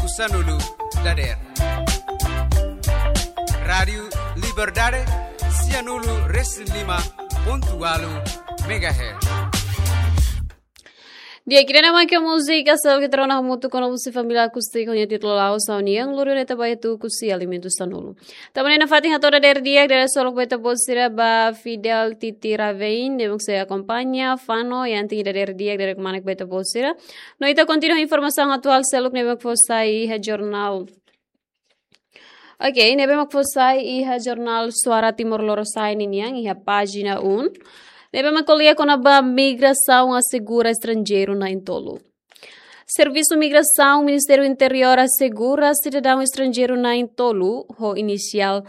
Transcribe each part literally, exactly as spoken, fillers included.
Sanulu dader. Rádiu Liberdade, sianulu resin lima pontu ualu megahertz. Di'ak, ida-ne'e mak múzika seluk ita rona hamutuk ona husi família akústika ho nia títulu La'o Saunian, lori ne'e ita bá tuku husi Alimentu Sanulu. Tanba ne'e nafatin hato'o dadeer di'ak, dadeer solok ba ita-boot sira ba Fidel Titi Ravein, ne'ebé sei akompaña, fanu, i anting dadeer di'ak, dadeer kmanek ba ita-boot sira. No ita kontinua informasaun atuál seluk ne'ebé fó sai iha jornál. Ok, ne'ebé mak fó sai iha jornál Suara Timor Lorosa'e ninian iha pájina um. Ne'ebé mak ko'alia kona-ba migrasaun asegura estranjeiru na'in-tolu. Servisu Migrasaun Ministériu Interiór asegura sidadaun estranjeiru na'in-tolu ho inisiál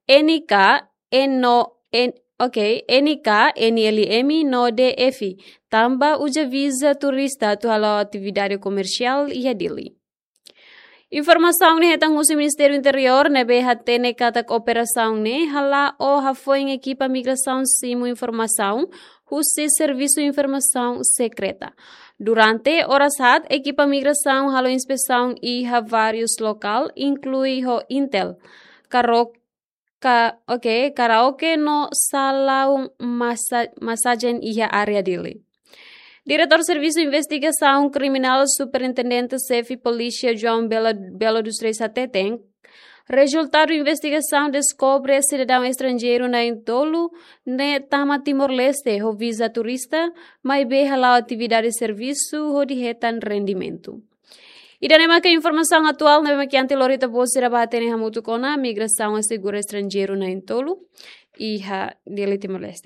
N K, N, N, ok, N K, N L M no D F, tanba uza viza turista atu hala'o atividade komersiál iha Dili. Informasaun ne'e hetan husi Ministériu Interiór, ne'ebé hatene katak operasaun ne'e hala'o hafoin ekipa migrasaun simu informasaun husi Servisu Informasaun Sekreta. Durante oras haat, ekipa migrasaun halo inspesaun iha várius lokál, inklui ho Intel, Karok, ka, ok, karaoke no salaun masa-, masajen iha área Dili. Diretór Servisu Investigasaun Kriminál, Superintendente Xefe Polísia João Belo, Belo dos Reis hateten, rezultadu investigasaun deskobre sidadaun estranjeiru na'in-tolu ne'e tama Timor-Leste ho viza turista, maibé hala'o atividade servisu hodi hetan rendimentu. Ida-ne'e maka informasaun atuál ne'ebé mak iha ita lori ita-boot sira ba hatene hamutuk ona. Migrasaun asegura estranjeiru na'in-tolu iha Dili, Timor-Leste.